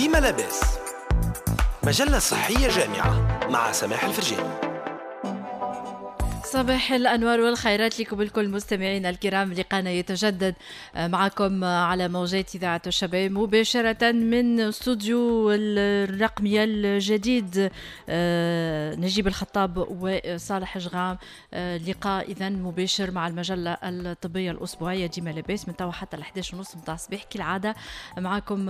ديما لاباس، مجلة صحية جامعة مع سماح الفرجاني. صباح الأنوار والخيرات لكم الكل مستمعينا الكرام. لقانا يتجدد معكم على موجات إذاعة الشباب مباشرة من استوديو الرقمي الجديد نجيب الخطاب وصالح جغام. لقاء إذا مباشر مع المجلة الطبية الأسبوعية ديما لاباس من توا حتى 11:30 متاع الصباح كالعادة. معكم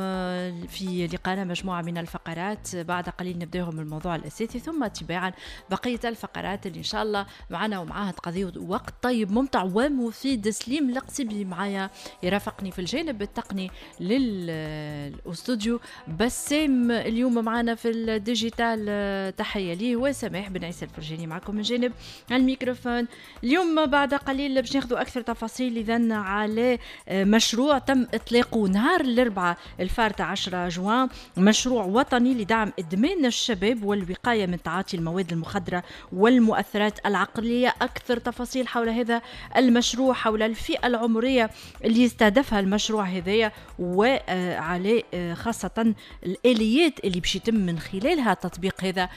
في لقانا مجموعة من الفقرات، بعد قليل نبداهم الموضوع الأساسي ثم تباعا بقية الفقرات اللي إن شاء الله معنا ومعاها تقضي وقت طيب ممتع ومفيد. سليم القصيبي معايا يرافقني في الجانب التقني للاستوديو، بسام اليوم معنا في ال digital، تحية ليه، وسماح بن عيسى الفرجاني معكم من جانب الميكروفون. اليوم بعد قليل باش ناخذ اكثر تفاصيل اذا على مشروع تم اطلاقه نهار الاربعاء الفارطه 10 جوان، مشروع وطني لدعم ادمان الشباب والوقاية من تعاطي المواد المخدره والمؤثرات العقلية. أكثر تفاصيل حول هذا المشروع، حول الفئة العمرية اللي يستهدفها المشروع هذايا، وعلى خاصة الآليات اللي باش يتم من خلالها تطبيق هذا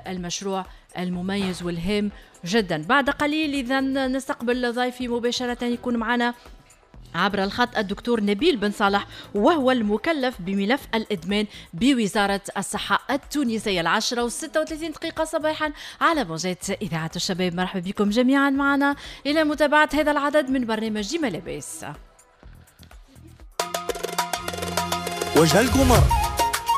المشروع المميز والهام جدا. بعد قليل إذا نستقبل ضيفي مباشرة، يكون معنا عبر الخط الدكتور نبيل بن صالح، وهو المكلف بملف الإدمان بوزارة الصحة التونسية. 10:36 صباحا على موجات إذاعة الشباب. مرحبا بكم جميعا معنا إلى متابعة هذا العدد من برنامج ديما لاباس. وجه القمر.